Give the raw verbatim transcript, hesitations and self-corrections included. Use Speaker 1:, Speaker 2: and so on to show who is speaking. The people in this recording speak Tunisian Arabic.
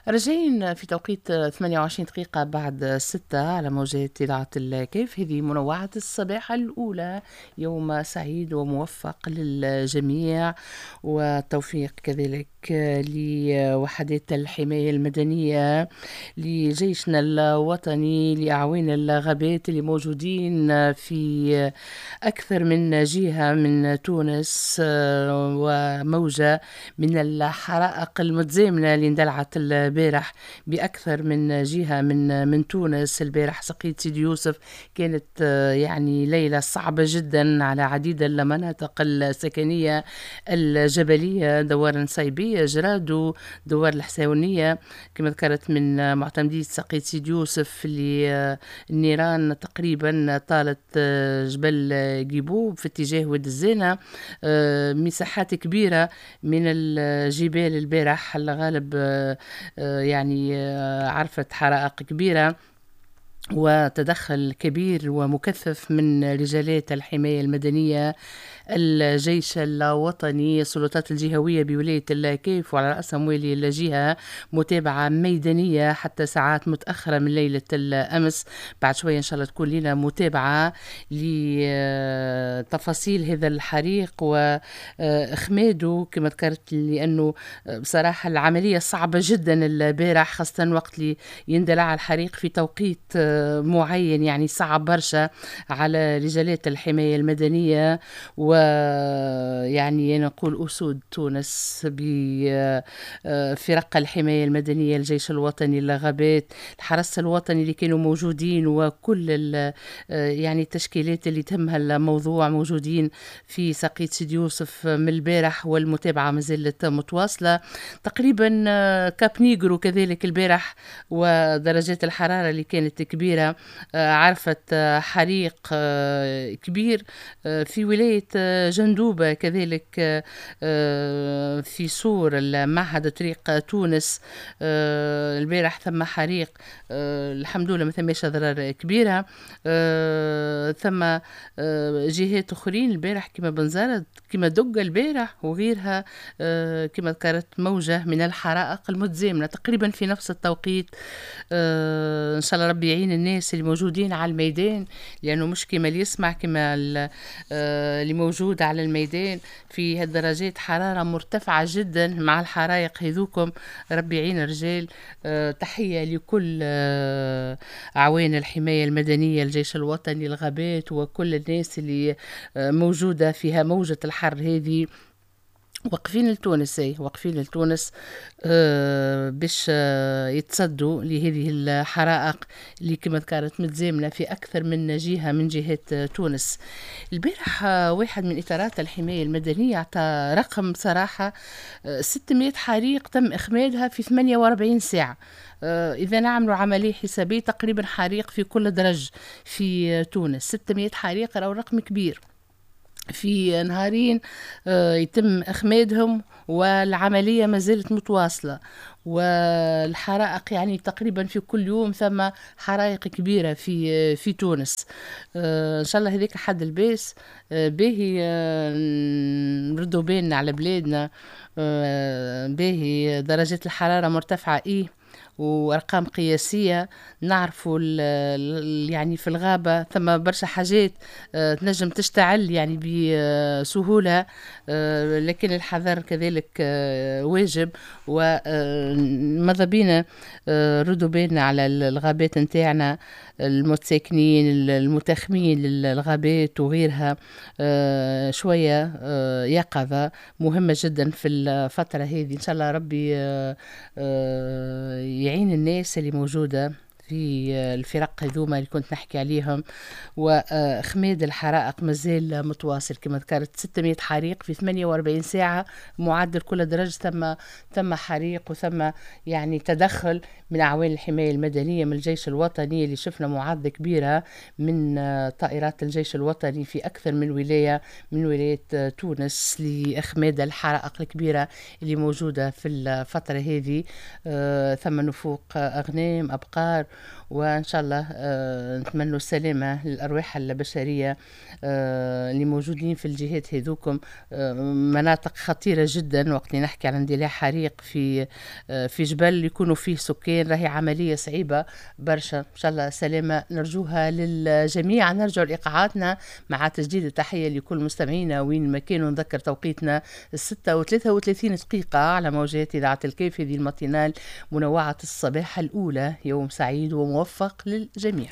Speaker 1: رجعين في توقيت ثمانية وعشرين دقيقة بعد ستة على موجات إذاعة الكيف. هذه منوعة الصباح الأولى، يوم سعيد وموفق للجميع والتوفيق كذلك لوحدات الحماية المدنية، لجيشنا الوطني، لأعوان الغابات اللي موجودين في أكثر من جهة من تونس، وموجة من الحرائق المتزامنة اللي اندلعت البارح بأكثر من جهة من من تونس. البارح سقيت سيدي يوسف كانت يعني ليلة صعبة جدا على عديد المناطق السكنية الجبلية، دوار نصيبية، جرادو، دوار الحساونية كما ذكرت من معتمدية سقيت سيدي يوسف اللي النيران تقريبا طالت جبل جيبوب في اتجاه واد الزينة، مساحات كبيرة من الجبال البارح الغالب يعني عرفت حرائق كبيرة وتدخل كبير ومكثف من رجالات الحماية المدنية، الجيش الوطني، السلطات الجهوية بولاية الكيف وعلى رأسهم والي الجهة، متابعة ميدانية حتى ساعات متأخرة من ليلة الأمس. بعد شوية إن شاء الله تكون لنا متابعة لتفاصيل هذا الحريق وإخماده كما ذكرت، لأنه بصراحة العملية صعبة جدا البارح، خاصة وقت اللي يندلع الحريق في توقيت معين، يعني صعب برشا على رجالات الحماية المدنية ويعني نقول أسود تونس بفرق الحماية المدنية، الجيش الوطني، الغابات، الحرس الوطني اللي كانوا موجودين، وكل يعني التشكيلات اللي تهمها الموضوع موجودين في سقيت سيدي يوسف من البارح، والمتابعة ما زالت متواصلة. تقريبا كاب نيجرو كذلك البارح ودرجات الحرارة اللي كانت كبيرة عرفت حريق كبير في ولاية جندوبة، كذلك في سور المعهد طريق تونس البارح ثم حريق، الحمد لله ما ثماش أضرار كبيرة. ثم جهات أخرين البارح كما بنزرت، كما دقة البارح وغيرها، كما ذكرت موجة من الحرائق المتزامنة تقريبا في نفس التوقيت. إن شاء الله ربي يعين الناس اللي موجودين على الميدان، لأنه مش كما اللي يسمع كما اللي موجود على الميدان في هالدرجات حرارة مرتفعة جدا مع الحرائق هذوكم. ربي يعين الرجال. تحية لكل أعوان الحماية المدنية، الجيش الوطني، الغابات، وكل الناس اللي موجودة فيها موجة الحر هذه. واقفين لتونس، واقفين لتونس آه باش آه يتصدوا لهذه الحرائق اللي كما ذكرت متزامنة في أكثر من جهة من جهات آه تونس. البارح آه واحد من إطارات الحماية المدنية أعطى رقم صراحة، آه ستمائة حريق تم إخمادها في ثمانية وأربعين ساعة. آه إذا نعملوا عملية حسابية تقريبا حريق في كل درج في تونس، ستمائة حريق أو رقم كبير في نهارين يتم إخمادهم، والعملية ما زالت متواصلة، والحرائق يعني تقريبا في كل يوم ثم حرائق كبيرة في في تونس. إن شاء الله هذيك حد الباس باهي، نردوا بالنا على بلادنا، باهي درجات الحرارة مرتفعة إيه وارقام قياسية، نعرفوا يعني في الغابة ثم برشا حاجات تنجم تشتعل يعني بسهولة، لكن الحذر كذلك واجب. وماذا بينا ردوا بالنا على الغابات نتاعنا، المتساكنين المتاخمين للغابات وغيرها، شوية يقظه مهمة جدا في الفترة هذه. ان شاء الله ربي يعين الناس اللي موجودة في الفرق هذوما اللي كنت نحكي عليهم. وخماد الحرائق مازال متواصل كما ذكرت، ستمائة حريق في ثمانية وأربعين ساعة معدل كل درجة ثم ثم حريق، وثم يعني تدخل من أعوان الحماية المدنية، من الجيش الوطني اللي شفنا معارضة كبيرة من طائرات الجيش الوطني في أكثر من ولاية من ولايات تونس لإخماد الحرائق الكبيرة اللي موجودة في الفترة هذه. ثم نفوق أغنام، أبقار، وان شاء الله آه، نتمنوا السلامة للارواح البشرية آه، اللي موجودين في الجهات هذوكم. آه، مناطق خطيرة جدا، وقت اللي نحكي على اندلاع حريق في في جبل يكونوا فيه سكان، راهي عملية صعيبة برشا. ان شاء الله سلامه نرجوها للجميع. نرجع لايقاعاتنا مع تجديد التحية لكل مستمعينا وين ما كانوا. نذكر توقيتنا الستة وثلاثة وثلاثين دقيقة على موجات إذاعة الكاف، هذه ال matinale منوعة الصباح الأولى. يوم سعيد وموفق للجميع.